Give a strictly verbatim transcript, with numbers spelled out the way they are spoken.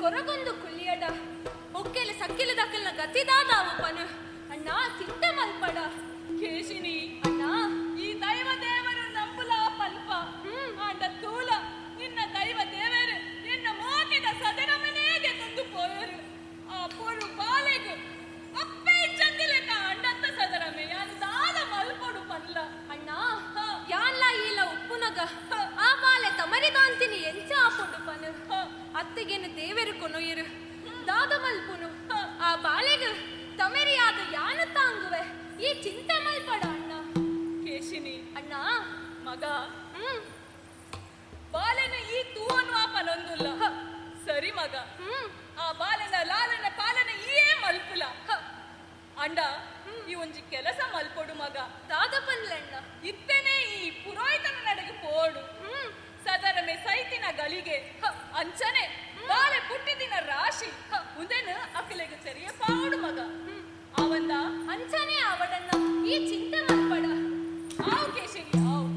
ಕೊರಗೊಂದು ಕುಲ್ಲಿಯಡ ಒಕ್ಕೆಲ ಸಕ್ಕಿಲ ದಕ್ಕಲ್ನ ಗತಿದಾದಾವು ಪನು ಅಣ್ಣ ಚಿಂತೆ ಮಲ್ಪಡ ಕೇಶಿನಿ ಅಣ್ಣ ಈ ದೈವ ದೇವರು ನಂಬುಲ ಪಲ್ಪ ಆಂಡ ತೂಲ ನಿನ್ನ ದೈವ ದೇವರು ನಿನ್ನ ಮೋಕಿದ ಸದರಮನೇಗೆ ತಂದು ಪೋಯರು ಆ ಪೊರು ಬಾಲೆಗು ಅಪ್ಪೆ ಚಂದಿಲೆಕ ಅಂಡತ್ತ ಸದರಮೆ ಯಾನು ದಾದ ಮಲ್ಪೊಡು ಪನ್ಲ ಅಣ್ಣ ಯಾನ್ಲ ಈಲ ಉಪ್ಪುನಗ ಆ ಬಾಲೆ ತಮರಿದಾಂತಿನಿ ಎಂಚ ಆಪುಂಡು ಪನು ಅತ್ತೆಗೇನು ದೇವರು ಕೊನೊಯಿರು ದಾದ ಮಲ್ಪುನು ಆ ಬಾಲೆಗು ತಮರಿಯಾದ ಯಾನು ತಾಂಗುವೆ ಈ ಚಿಂತೆ ಮಲ್ಪಡ ಅಣ್ಣ ಕೇಶಿನಿ ಅಣ್ಣ ಮಗ ಹ್ಮ್ ಬಾಲೆನ ಈ ತೂವನ್ವಾ ಪನೊಂದುಲ್ಲ ಸರಿ ಮಗ ಹ್ಮ್ ಆ ಬಾಲನ ಲಾಲನ ಪಾಲನ ಈಯೇ ಮಲ್ಪುಲ ಅಂಡ ಈ ಒಂಜಿ ಕೆಲಸ ಮಲ್ಪೊಡು ಮಗ ದಾದ ಪನ್ಲಣ್ಣ ಇತ್ತನೇ ಈ ಪುರೋಹಿತನ ನಡೆಗೆ ಪೋಡು ಹ್ಮ್ ಸದರಮೆ ಸೈತಿನ ಗಳಿಗೆ ಅಂಚನೆ ಬಾಲೆ ಪುಟ್ಟಿದಿನ ರಾಶಿ ಉಂದೆನು ಅಕಲೆಗೆ ಸರಿಯ ಪಾಡು ಮಗ ಅವಂದ ಅಂಚನೆ ಅವಡಣ್ಣ ಈ ಚಿಂತೆ